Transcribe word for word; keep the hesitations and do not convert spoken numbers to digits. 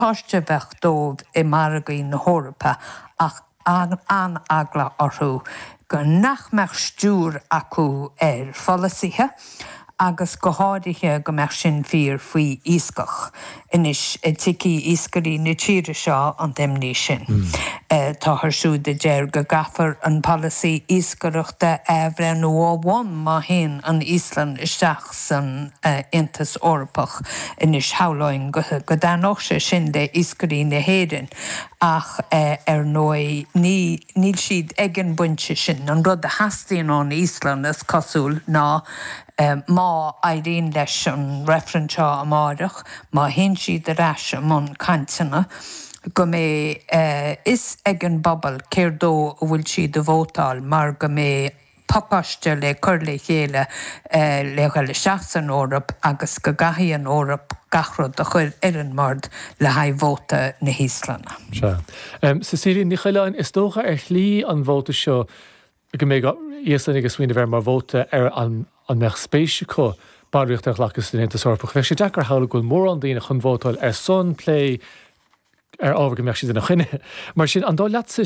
Páiste bheadh dóibh i margaí na hEorpa ach an-eagla orthu go nach mbeadh stiúir acu ar pholasaithe agus go háirithe go mbeadh sin fíor faoi iascach. Anois tuigfidh iascairí na tíre seo an t-imní sin. Mm. Táthar siúd a deir go gcaithfear an polasaí iascaireachta a athbhreithniú ó bhonn má théann an Íoslainn isteach san Aontas Eorpach anois shamhlóinn go dtaitneodh sé sin le iascairí na hÉireann ach ar ndóigh ní níl siad ag an bpointe sin. An rud a theastaíonn ón Íoslainn is cosúil ná má éiríonn leis an reifreann seo amárach, má théann siad ar ais i mbun cainteanna, go mbeidh a fhios ag an bpobal céard dó a bhfuil siad ag vótáil mar go mbeidh pacáiste le cur le chéile le dhul isteach san Eoraip agus go gcaithfidh an Eoraip gach rud a chur ar an mbord le haghaidh vóta na hÍoslainne. Sea. Cecilia Ní Choileáin, is dócha ar shlí an vóta seo go mbeidh Íoslannaigh ag smaoineamh air mar vóta ar an an mbeadh spéis acu ballraíocht a ghlacadh san Aontas Eorpach. Bheadh sé deacair a shamhlú go bhfuil mórán daoine chun vótáil ar son plé ar ábhar go mbeadh siad ina choinne. Mar sin an dóigh leatsa